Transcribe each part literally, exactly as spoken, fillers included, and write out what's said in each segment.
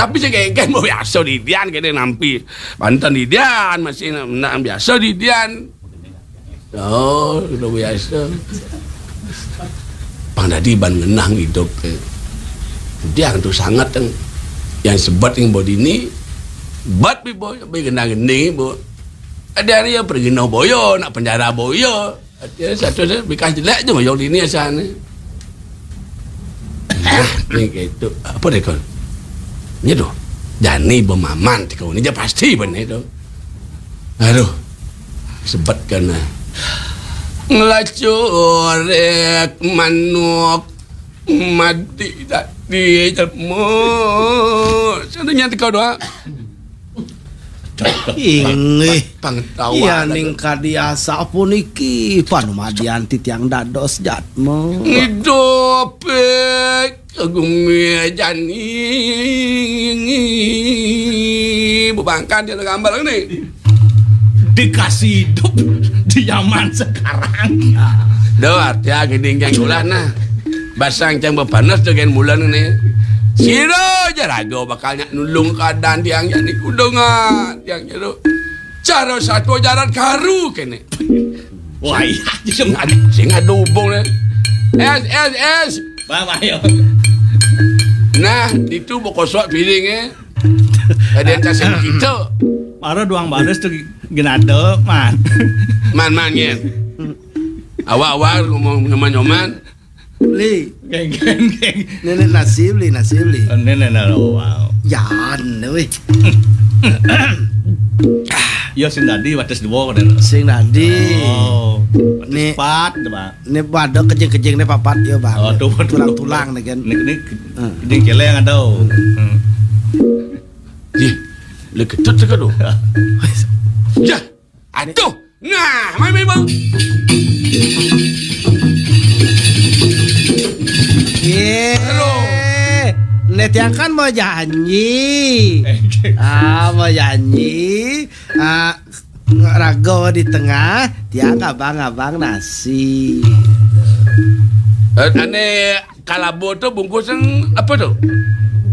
Tapi sing kéngkén mbok biasa didian kéné nampi. Banten didian masih nak biasa didian. Oh, udah biasa. Pang dadi ban ngenah idup. Dian tuh sangat yang, yang sebet yang mbok dini, bet bi boy, bi genah geni, Bu. Ada hari ya pergi no boyo, nak penjara boyo. Artinya satu saya bekas jelek je ngoyong dini asalnya. Nah, ni gitu. Apa dia kon? Ni tu. Jani bemaman ti kau ni je pasti benar tu. Aduh. Sebetkan lah. Ngelacurek manuk mati tak di jelma. Satu nyata kau doa. Inggih. Pangtawan. Yaning kadi asapuniki panumadian titiang dados jatma. Ngidup, eh, gumi jani. Bebangkan dia gambar ni. Dikasih hidup di zaman sekarang. Duh, arti gini yang ulah nah. Basang cang bepanas dengan bulan ni. Sira aja raga bakal nyak nulung keadaan tiang jani kudungan tiang jero. Cara satu jaran karu kene. Wah, iya. Sing ada, sing ada hubung ni. Es, es, es. Bah, bah, yo. Nah, itu bokosok piring eh. Ada yang kasih kita. Para duang baris tu genada, man. Man, man, nyen. Awak-awak ngomong nyoman-nyoman. Li. Geng, geng, geng. Nenek nasi beli, nasi beli. Oh, nenek, nenek, oh, wow. Jan, weh. Ya, sing tadi batas dua, kan? Sing tadi. Oh, batas ni, empat, tu, Pak. Ni pada kejing-kejing ni papat, ya, Bang. Oh, tu, tu, tulang-tulang ni, kan? Ni, ni, hmm, kejing celeng ada. Hmm. Ih, le ketut tu, kan, tu? Ya. Aduh. Nah, mai, mai, bang. Ye. Aduh. Ni tiang kan mau janji. Eh, ah, mau janji. Ah, raga di tengah, tiang abang-abang nasi. Eh, ane kalabo tu bungkus yang apa tu?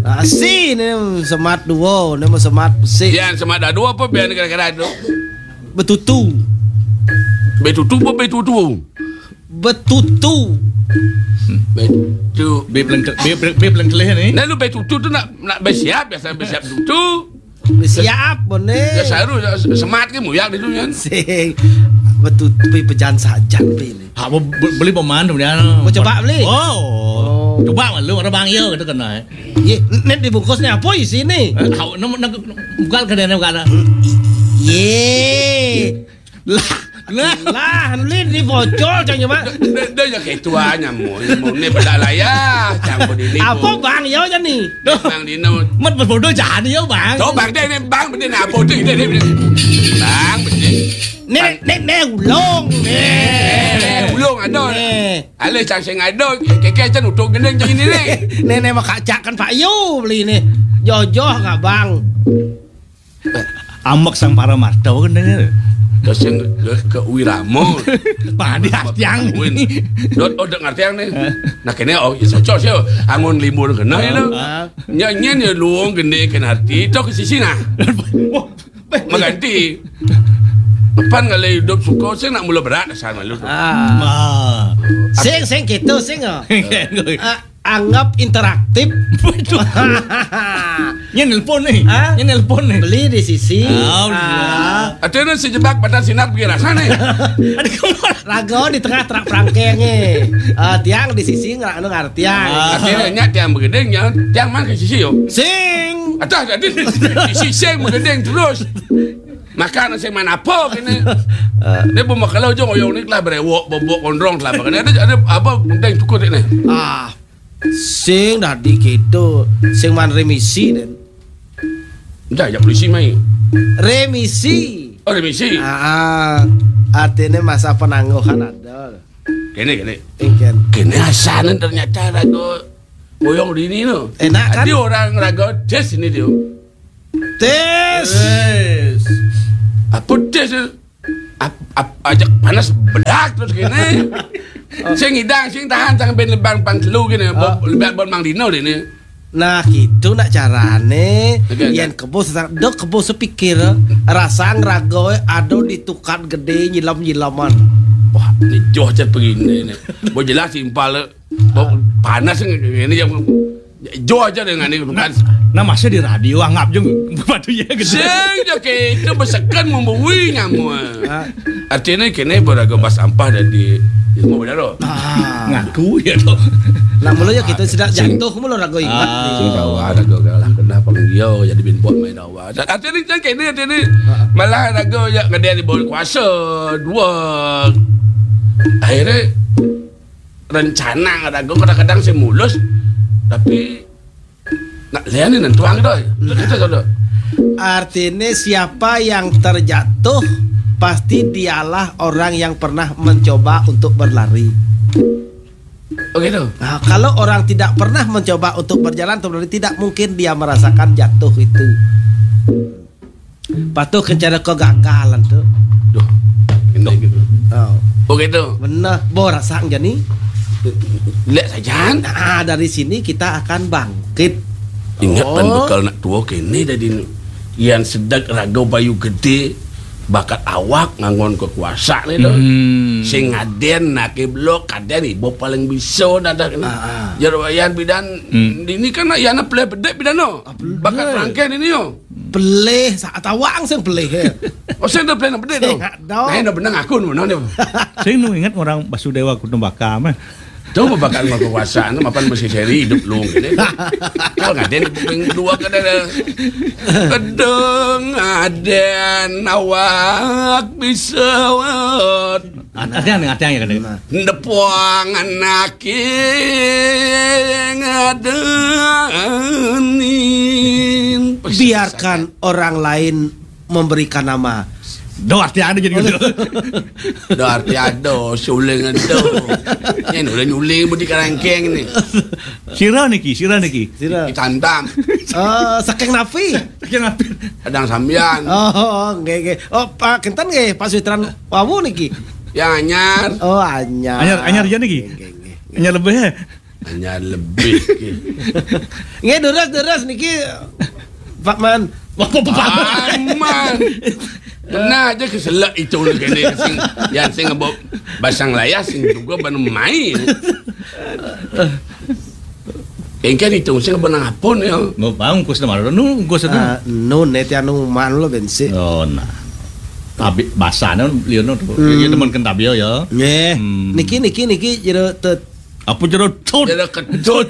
Nasi ni semat dua, ni semat besi. Yang semat dah dua apa biar kira-kira tu? Betutu. Betutu apa betutu? Betutu. Betu. Be pelengke-, be, be, be pelengkelih ni. Nah, lu betutu tu nak, nak bersiap, biasa bersiap betutu. Bersiap, boleh. Ya, saru, ya, semat ke muyak dia tu, kan? Sing. Betutu, pi pejan sajan, pi ni. Ha, bo-, bo-, beli peman tu dia. Mau coba beli? Oh. Oh. Coba malu, orang bang, ya, kata kena, eh. Ye, ni dibungkus ni apa isi ni? Eh, hau, nak, nak, buka ke dia, buka dah. Ye. Lah, lah. Lah, ni dibocor, cang, cuma. Dia, dia, dia yang ketua nyamuk, nyamuk ni bedak layar, campur ini. Apa pun. Bang, ya, je ni? Bang Dino. Mat berbodoh jadi ya, Bang. Tu, Bang, dia ni, Bang, benda ni apa tu? Dia, dia, dia. Bang, benda. Ni, Bang. Ni, ni, ulung. Ni. Eh, ulung ada. Ni. Alah, cang sing ada, keke cang utuk gending cang ini ni. Ni, ni, makacakkan Pak Yu beli ni. Jojoh, Bang. Ambek sang para marta kan dengar. Ke sing ke, ke wirama. Padi artiang. Win. Dot odek ngartiang ni. Hah? Nah, kene, oh, ya cocok sih. Angun limbur kena ya lo. Ah. Nyanyian ya luung gende kena arti. Tok ke sisi nah. Wah, mengganti. Depan kalau hidup suka sih nak mula berat asal malu tu. Ah. Ma. Sing, sing gitu, sing, oh. Ah. Anggap interaktif. Betul. Nya nelpon ni. Hah? Nya nelpon ni. Beli di sisi. Ah, ah. Ada nu sejebak pada sinar pergi rasa ni. Ada kemana? Raga di tengah terak perangkeng ni. Ah, tiang di sisi ngerak anu ngartiang. Ah. Artinya nya tiang begending nya, tiang man ke sisi yo. Sing. Atas tadi di sisi sing begending terus. Makan sing man apa kene? Ah. Ni pun kalau jong oyong ni telah berewok, bobok, kondrong telah makan. Ada, ada apa penting cukup ni? Ah. Sing dadi keto, sing man remisi, Den. Dah, ya polisi mai. Remisi. Oh, remisi. Ah, ah. Artinya masa penangguhan ada. Kene, kene. Ingken. Kene asanan ternyata raga boyong dini no. Enak, kan? Ada orang raga tes ini dia. Tes. Tes. Apa tes? Ap-, ap-, ajak panas bedak terus kene. Oh. Sing idang, sing tahan, sang ben lebang pang telu kene. Oh. Bo-, lebang bon Mang Dino dene. Nah, gitu nak carané. Yén kebo sesang, dok kebo sepikir, rasang raga ada di tukad gedé nyilem-nyileman. Wah, né joh aja begini né. Bo jelas simpal. Bo panas ini yang joh aja dengan ini bukan. Nah, masa di radio anggap je batu ya gedé. Sing ja kita besekan membui nyamu. Artinya kini beraga bas ampah dan di ilmu benar. Ngaku ya to. Nah, mula ya kita sudah jatuh mula raga ingat. Sing dawa raga galah kena pang dia jadi bin buat main dawa. Dan artinya kan kini artinya malah raga ya ngedé di bawah kuasa dua. Akhirnya rencana raga kadang-kadang sing mulus tapi nak lihat ni nentuang tu. Kita tu. Artinya siapa yang terjatuh pasti dialah orang yang pernah mencoba untuk berlari. Oh gitu. Nah, kalau orang tidak pernah mencoba untuk berjalan atau berlari, tidak mungkin dia merasakan jatuh itu. Patuh ke cara kau gagalan tu. Duh, ini gitu. Oh. Oh gitu. Benar, bo rasa jani. Lihat saja. Nah, dari sini kita akan bangkit. Ingat pan bekal nak tua kini jadi ni. Yang sedek raga bayu gedé bakat awak nganggon kekuasa ni tu. Sing ngadén nak blok kadén ibu paling bisa dadah kini. Jero yan bidan ini kan nak yana pelih bedek bidan no. Bakat rangkeh ini yo. Pelih, sa-, tawang sing pelih, ya. Oh, sing dah pelih nak bedek tu. Sing ada. Nah, dah benang aku nu mana ni. Sing nu ingat orang Basudewa Kutumbaka mah. Tu bakal mau kekuasaan tu mapan mesti seri hidup lu gini. Kalau ngadén kuping dua kada ada. Kedeng ngadén awak bisa wat. Artinya nih, artinya kan. Depuang anak ngadén. Biarkan orang lain memberikan nama. Do arti ada jadi gitu. Do arti ada, suling ada. Ini udah nyuling budi karangkeng ni. Sira niki, sira niki. Sira. Ditantang. Eh, saking napi? Saking napi? Kadang sambian. Oh, nggih, nggih. Oh, Pak Kenten nggih, Pak Suitran wawu niki. Yang anyar. Oh, anyar. Anyar, anyar aja niki. Nggih, nggih, nggih. Anyar lebih ya. Hanya lebih. Nggih, deres, deres niki, Pak Man. Apa, Pak Man? Aman. Kena aja keselak itu kene sing, yang sing ngebok basang layas sing juga ban main. Engke itu sing benang apun ya. Mau bang ungkus nama nu ungkus itu. Ah, nu neti anu man lo bensi. Oh, nah. Tapi basane liyo no to. Hmm. Iya teman kentabio ya. Nggih. Hmm. Niki, niki, niki jero tet Apa jero tut? Jero ketut.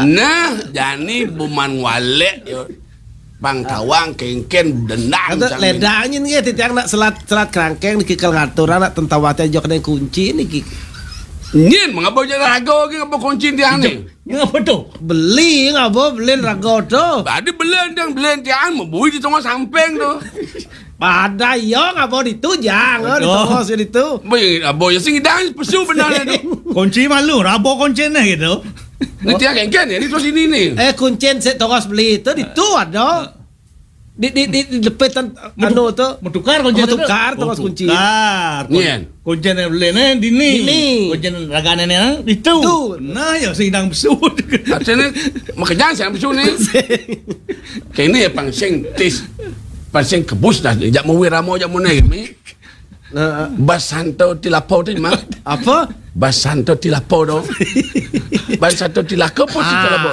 Nah, jani buman walek yo. Bang tawang kengken dendang. Ada ledangin nggih titiang nak selat, selat kerangkeng niki kal ngatur anak tentawate jok deng kunci niki. Nyen mengapa jadi raga ki ngapa kunci tiang ni? Ngapa tu? Beli ngapa beli raga tu? Tadi beli yang beli tiang membui di tengah samping tu. Pada iya ngabo ditu jang, oh, di tongos ditu. Boy, abo ya sing idang pesu benar tu. Kunci malu, rabo kunci neh gitu. Nanti akan kan ya, ni terus ini ni. Eh, kuncen sik tongos beli tu ditu ada. Di, di, di, di depan anu tu. Metukar kunci tu. Metukar tongos kunci. Tukar. Nian. Kunci neh beli neh dini. Dini. Kunci ragane neh ditu. Tu. Nah, ya sing idang pesu. Artinya makanya saya pesu ni. Kene ya pang sing tis, pang sing kebus dah. Jak mau wiramo jak mau naik mi. Nah. Basanto tilapo tu mah. Apa? Basanto tilapo dong. Basanto tilaka apa sih tilapo?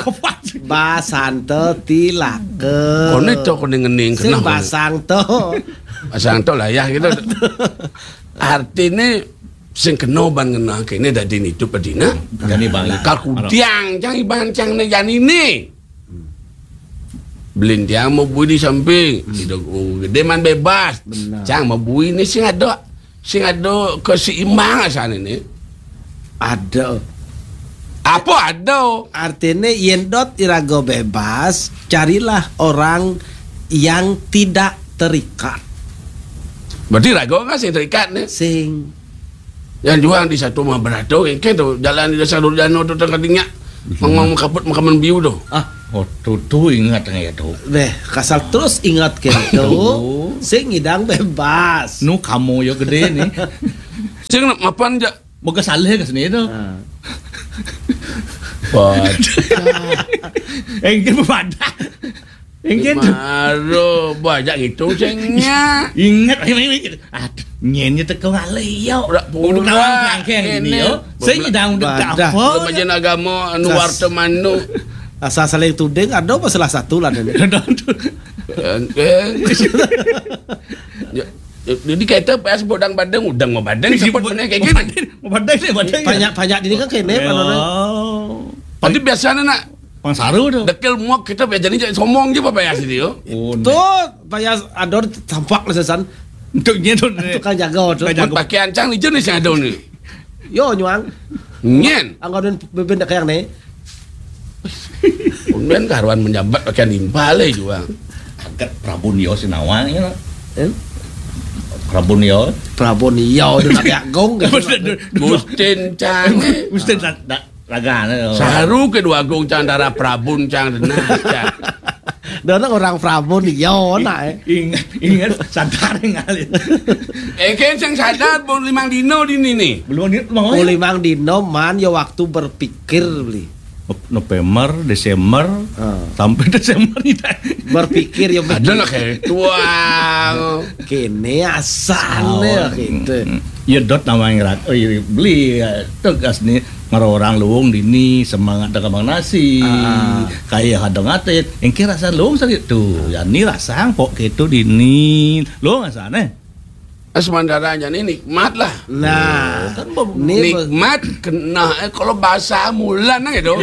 Basanto tilaka. Kone to kone ngening sing kenapa? Basang to. Basang to lah ya gitu. Artinya sing kena ban ngena kene dadi nitu pedina. Jani bang. Kal kudiang cang iban cang ne jani ni. Belintiang mau bui di samping. Hmm. Tidak, oh, gede man bebas. Benar. Cang mau bui ni sing ada, sing ada keseimbangan sana ni. Ada. Apa ada? Artinya yen dot iraga bebas, carilah orang yang tidak terikat. Berarti raga kan sing terikat ni? Sing. Yang juang di satu mah berato, kan tu jalan di dasar Durjana tu tengah tinggal. Mengong kaput makaman biu tu. Ah, oh tu tu ingat ngai tu. Beh, kasal terus ingat ke tu. Sing idang bebas. Nu kamu yo gede ni. Sing nak mapan ja. Boga saleh ke sini tu. Ha. Badak. Engke badak. Engke tu. Maro badak gitu cengnya. Ingat, ingat, ingat. Aduh, nyen nya teko ngalih yo. Udah pulang. Udah pulang, kangkeng ini, ini yo. Saya nyidang udah tak apa. Badan agama anu warta manu. Asa saling tuding ada apa salah satu lah ini. Eh, eh. Ya, ya, jadi kita pas bodang badeng, udang mau badeng, sebut mana kayak gini. Mau badeng, mau badeng, mau badeng. Banyak-banyak ini kan kene, ya. Tapi biasanya nak Pang saru tu. Dekel muak kita biar jadi somong je apa ya sini yo. Oh, tuh, payah ador tampak lah sesan. Untuknya tu. Tukang jaga tu. Tukang jaga. Pakai ancang ni jenis yang ada ni. Yo, nyuang. Nyen. Anggo dan beben dak yang ni. Kemudian karuan menjabat pakai nimpal eh juang. Agak Prabu Nio sinawang ya. Eh? Prabu Nio. Prabu Nio tu nak agung. Gustin Cang. Gustin dak Ragane. Saru kedua agung cang darah Prabun cang denah cang. Dona orang Prabun iya nak eh. Ingat, ingat sadar ingat. Eh, kan cang sadar pun limang dino di ni ni. Belum ni mau. Oh, limang dino man yo waktu berpikir beli. November, Desember, sampai Desember ni dah. Berpikir yo ada lah kayak tuang. Kene asal ya gitu. Ya dot nama yang rak, oh iya beli ya, tegas ni. Ngaro orang luung dini semangat dagang nasi, kaya hadang atit, engke rasa luung sakit tu. Ya ni rasa pok ketu dini luung rasane. Sementara aja ni nikmat lah. Nah, kan nikmat kena eh, kalau bahasa mulan gitu.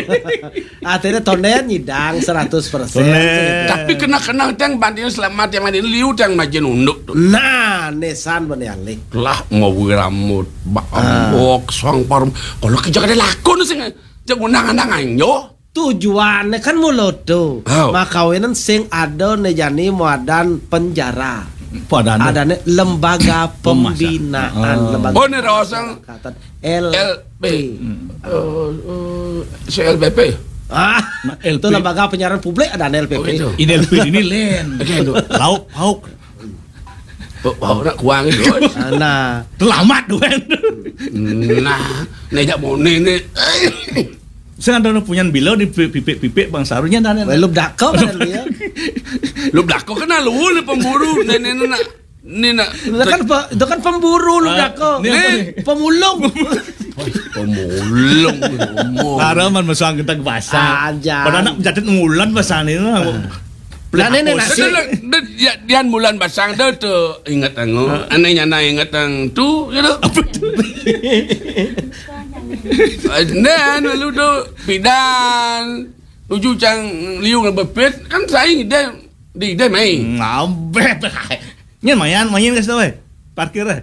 Artinya tonden nyidang seratus persen. Tapi kena-kena teng banding selamat yang mandi liu teng majin unduk tu. Nah, nesan bani alih. Lah mau rambut, bambok, sang parum. Kalau kerja kada lakon sing cek undang-undang anjo. Tujuannya kan mulo tu. Makawinan sing ada ne jani muadan penjara. Adane lembaga pembinaan, lembaga. Oh, ne rawasang L P. L P. Eh, eh, C L P P. Ah, itu lembaga penyiaran publik ada L P P. Oh, gitu. Ini L P ini len. Oke, itu. Lauk pauk. Oh, pauk nak kuang itu. Nah. Terlambat tu kan. Nah, nejak mone ni. Sing ada punyan bilo di pipik-pipik bang sarunya dan. Lu dako kan dia. Lu dako kena lu ni pemburu nenek nak. Ni nak. Itu kan itu kan pemburu lu dako. Ni pemulung. Pemulung. Para man masang kita ke pasar. Aja. Pada nak mencatat ngulan pasar ni. Nah, nenek nasi. Dian bulan basang dah tu ingat tango. Aneh nyana ingat tang tu gitu. Apa tu? Nah, lalu tu pidan. Uju cang liu ngebepit kan saing ide di ide mai. Ngabet. Nyen mayan mayan kasih tahu eh. Parkir eh.